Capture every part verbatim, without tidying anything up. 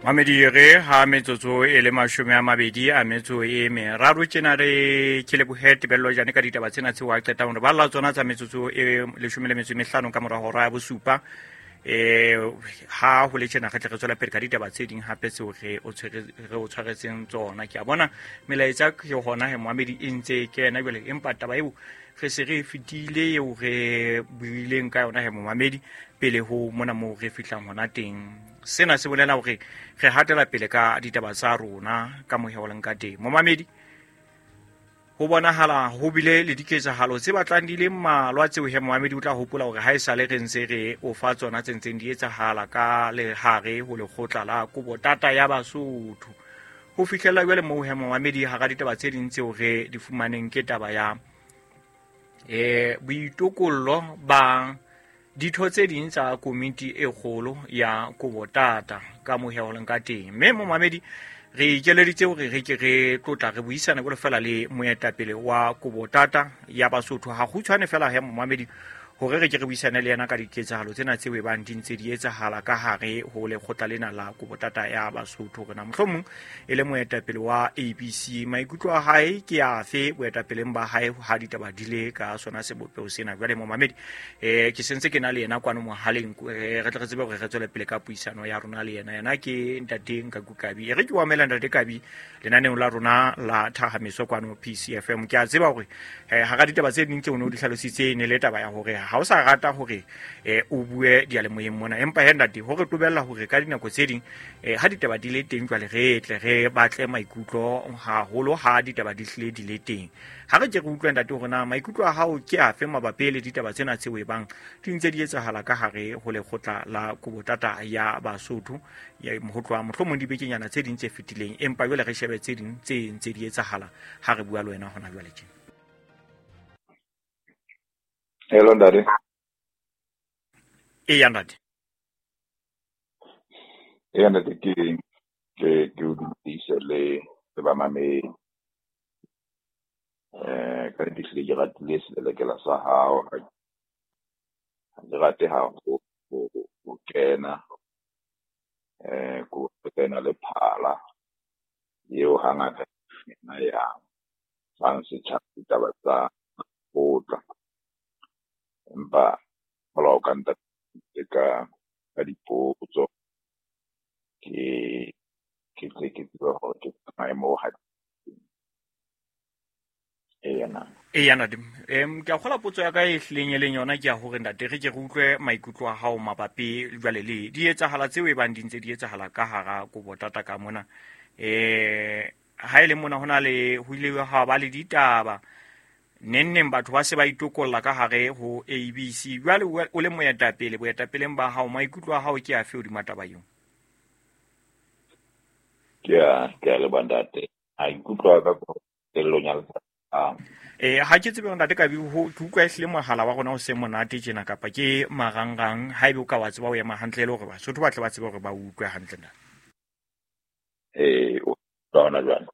Mamedi re ha metsotso e le mashome a mabedi a metso e meraro tjena re ke lebohe Tebello Jane ka ditaba tsena tseo a qetang hore balla tsona tsa metsotso e leshome le metso e mehlano ka mora hora ya bosupa. Eh ha ho le tjena re tle re tswela pele ka ditaba tse ding hape tseo re o tshwere re o tshwaretseng tsona. Ke a bona melaetsa ke hona he Mohamedi e ntse kena jwale, empa taba eo re se re fetile eo re buileng ka yona he Mohamedi pele ho mona moo re fihlang hona teng. Sena se bolela hore re hatela pele ka ditaba tsa rona ka moheho leng ka teng. Momamedi, ho bonahala ho bile le diketsahalo tse batlang di le mmalwa tseo he Mohamedi o tla hopola hore ha esale re ntse re o fa tsona tse ntseng di etsahala ka lehare ho lekgotla la Kobotata ya Basotho. Ho fihlela jwale moo he Mohamedi hara ditaba tse ding tseo re di fumaneng ke taba ya eh boitokollo ba ditho tse ding tsa komiti e kgolo ya Kobotata ka moheho leng ka teng. Mme momamedi re ikeleditse hore re ke re tlotla re buisana jwalo fela le moetapele wa Kobotata ya Basotho ha kgutshwane fela he momamedi hore re ke re buisane le yena ka diketsahalo tsena tseo e bang di ntse di etsahala ka hare ho lekgotla lena la Kobotata ya Basotho. Hore na mohlomong e le moetapele wa A B C maikutlo a hae ke afe boetapeleng ba hae ha ditaba di le ka sona sebopeho sena. Jwale momamedi eh ke sentse ke na le yena kwano mohaleng, re tle re tsebe hore re tswele pele ka puisano ya rona le yena. Yena ke ntate Nkaku Kabi. E re ke o amela ntate Kabi lenaneong la rona la Thahamiso kwano P C F M. Ke a tseba hore hara ditaba tse ding tseo o ne o di hlalositse ne le taba ya hore ha o sa rata hore eh o bue dialemoyeng mona, empa he ntate hore tobella hore ka dinako tse ding eh ha ditaba di le teng jwale re tle re batle maikutlo haholo ha ditaba di hlile di le teng. Ha re ke re utlwe ntate hore na maikutlo a hao ke afe mabapi le ditaba tsena tseo e bang di ntse di etsahala ka hare ho lekgotla la Kobotata ya Basotho ya ho tloha mohlomong dibekenyana tse ding tse fetileng, empa jwale re shebe tse ding tse ntse di etsahala ha re bua le wena hona jwale tjena. Hello ntate. Eya ntate. Eya ntate, ke ke ke o dumedise le le bamamedi. Eh ka nnete hlile ke ratile selelekela sa hao. Ha ke rate ha ho ho kena eh ko kena le phala eo hangata ena ya fang setjhaba ditaba tsa kgotla. Empa hola o ka ntate ka ka dipotso ke ke tle ke tsebe hore ke maemo ha ena. Eya ntate, em ke a kgola potso ya ka e hlileng e leng yona ke ya hore ntate re ke re utlwe maikutlo a hao mabapi jwale le di etsahala tseo e bang di ntse di etsahala ka hara Kobotata ka mona. Eh ha e le mona hona le ho ile ha ba le ditaba neng neng batho ba se ba itokolla ka hare ho A B C. Jwale o le moetapele boetapeleng ba hao maikutlo a hao ke afe hodima taba eo? Ke a ke a leboha ntate. Maikutlo a ka qetellong ya letsatsi. Eh ha ke tsebe ntate Kabi ho ke utlwa ehlile mohala wa rona o se monate tjena kapa ke marangrang haebe o ka wa tseba o ema hantle le hore Basotho ba tle ba tsebe hore ba utlwe hantle ntate. Eh o tla ona jwang?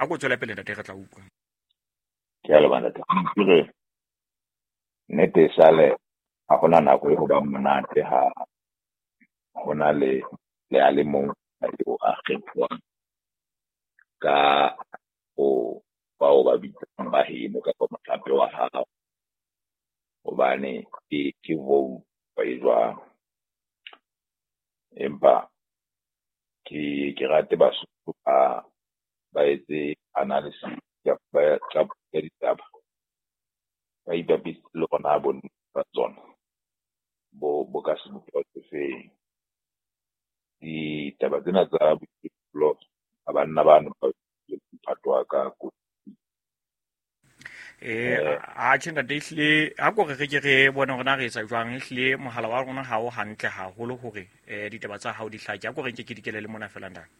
A ko tswele pele ntate re tla utlwa. Ke a leboha ntate. Ke re nnete sale ha hona nako e ho ba monate ha hona le le a le mong eo a kgethwang ka o bao ba bitsang ba heno kapa mohlape wa hao, hobane ke ke vote e jwang. Empa ke ke rate Basotho ba ba etse analysis ya ba tsa ditaba, ba ipapise le rona bonnete ba tsona bo bo ka sebopeho se feng. Ditaba tsena tsa boitokolo ba banna bano ba mphato wa ka ko. Eh a tjhe ntate ehlile ha ko re re ke re bone hore na re etsa jwang ehlile mohala wa rona ha o hantle haholo hore eh ditaba tsa hao di hlake. Ha ko re nke ke dikele le mona fela ntate.